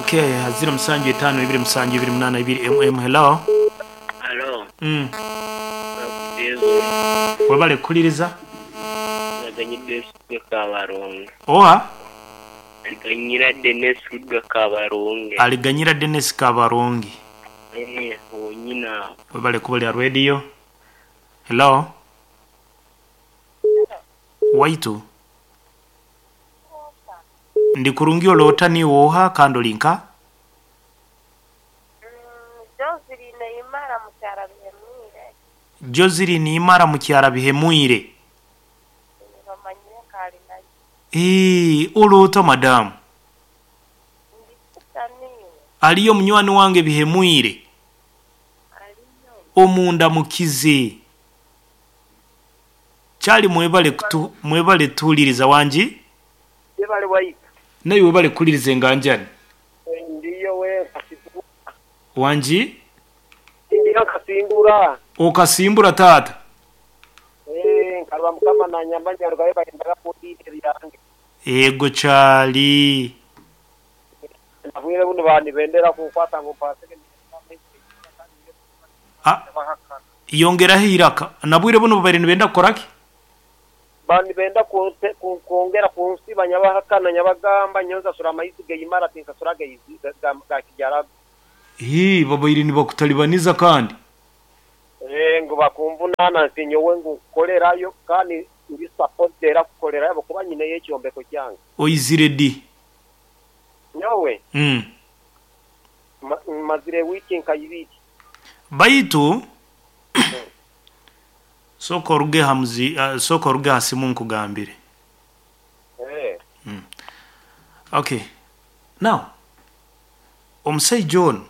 Okay, 0752 7 mm hello. Halo. Mm. Webale kukuliriza. Naganyidwa Esudwa Kabaronge. Oha? Aliganyira Denis Sudwa Kabaronge. Aliganyira Denis Kabaronge. Eh, wonyini agho. Webale kubulira radio. Hello. Waitu. Ndi kurungi oloota niiwe oha kandi oli nka? Joseline Imara Mukyara Bihemwire. Joseline Imara Mukyara Bihemwire. Bamanyire nkaali nayo. Eeh, oloota madamu? Ndikuta niiwe. Aliyo munywani wange Bihemwire? Aliyo. Omundamukize. Kyali mwebale kutu mwebale tuwuliriza wangi? Yebale waitu. Naiwe webale kuwuliriza enganjani. Ndiyo wenka sibura. Wangi? Ndiyo nkasimbura. Okasimbura taata? Eeh nkareba mukama nanyamba nyarugayo bayendaga kundiita ebyange. Eego kyali. Nabwire bunu baba nibendera kunkwata ngu mpasege Ah, yongeraho eiraka. Nabwire bunu babaire nibenda kukora ki? Baba nibenda kwongera kunsiba nyabahakana nyabagamba nyowe nsasura amaizi geimara tinsasura ga kijarago. Hii, babaire nibakutalibaniza kandi. Eeh ngu bakunvunaana nti nyowe ngu nkolerayo kandi ndi supposed era kukolerayo ahabw'okuba nyineyo ekyombeko kyange. Oizire di? Nyowe mmazire wiiki nka ibiri. Baitu sooka oruge aha muzi sooka oruge aha simu nkugambire. Ok now omusaija onu.